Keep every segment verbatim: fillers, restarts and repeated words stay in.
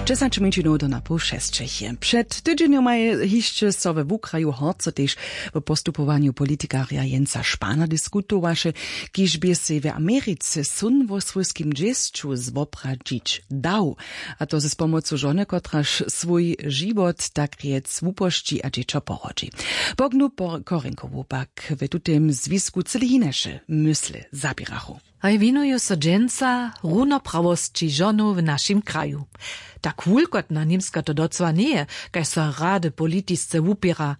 Dźesać mjeńšinow do na poł šesćich je před tydźenjomaj hišće so we wukraju horco tež w postupowanju politikarja Jensa Spana diskutowaše, kiž bě sej w Americe syn wo swójskim dźěsću zwopradźić dał, a to z pomocu žony, kotraž swój žiwot tak rjec wupošći a dźěćo porodźi. Pognu Korinkowu pak w tutym zwisku cyle hinaše mysle zaběrachu. Haj winuju so dźensa runoprawosći žonow w našim kraju. Tak wulkotna Němska to docyła njeje, kaž so rady politisce wupěra.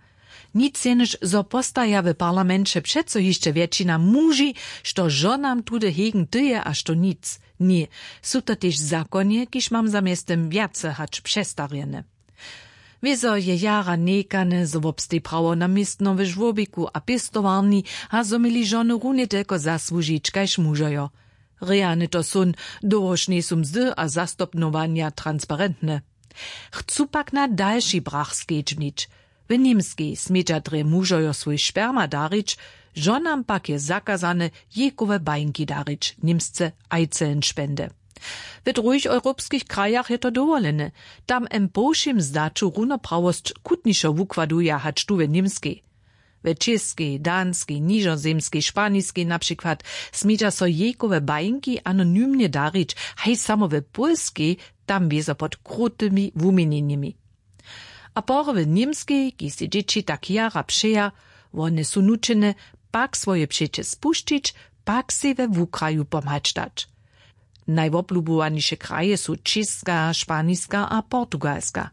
Nic jenož zo postaja w parlamenće přeco hišće wjetšina muži, što žonam tudy hegen tyje a što nic. Ně, su to tež zakonje, kiž mam za mjeztym wjace hač přestarjene. Wězo je jara někane, zo wobsteji prawo na městno w žłobiku a pěstowarni, a zo měli žony runje telko zasłužić kaž mužojo. Realne to són, dołhož njejsu mzdy a zastopnowanja transparentne. Chcu pak na dalši brach skedźbnić. W němskej smědźa drje mužojo swój sperma darić, žonam pak je zakazane jejkowe bajnki darić, němsce Eizellenspende. W druhich europskich krajach je to dowolene. Tam em po wšěm zdaću runoprawosć chutnišo wukładuja hač tu w němskej. W čěskej, danskej, nižozemskej, španiskej na přikład smědźa so jejkowe bajnki anonymnje darić, haj samo w pólskej, tam wězo pod krutymi wuměnjenjemi. A pory w němskej, kiž sej dźěći tak jara přeja, wone su nućene pak swoje přeće spušćić, pak sej we wukraju pomhać dać. Najwoblubowaniše kraje su čěska, španiska a portugalska.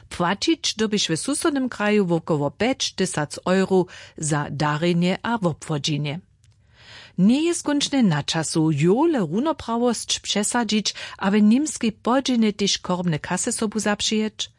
Płaćić dyrbiš w susodnym kraju wokoło pjeć tysac euro za darjenje a wobwodźenje. Njeje skónčnje na času jowle runoprawosć přesadźić a w němskej podźělnje tež chorobne kasy sobu zapřijeć?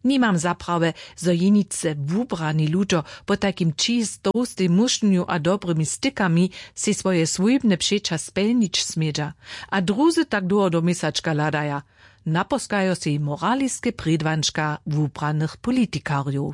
Nimam za prawje, zo jeničce wubrani ludo, potajkim ći z tołstej mušnju a dobrymi stykami sej swoje swójbne přeća spjelnić smědźa, a druzy tak dołho do měsačka hladaja. Naposkajo sej moraliske prědwančka wubranych politikarjow.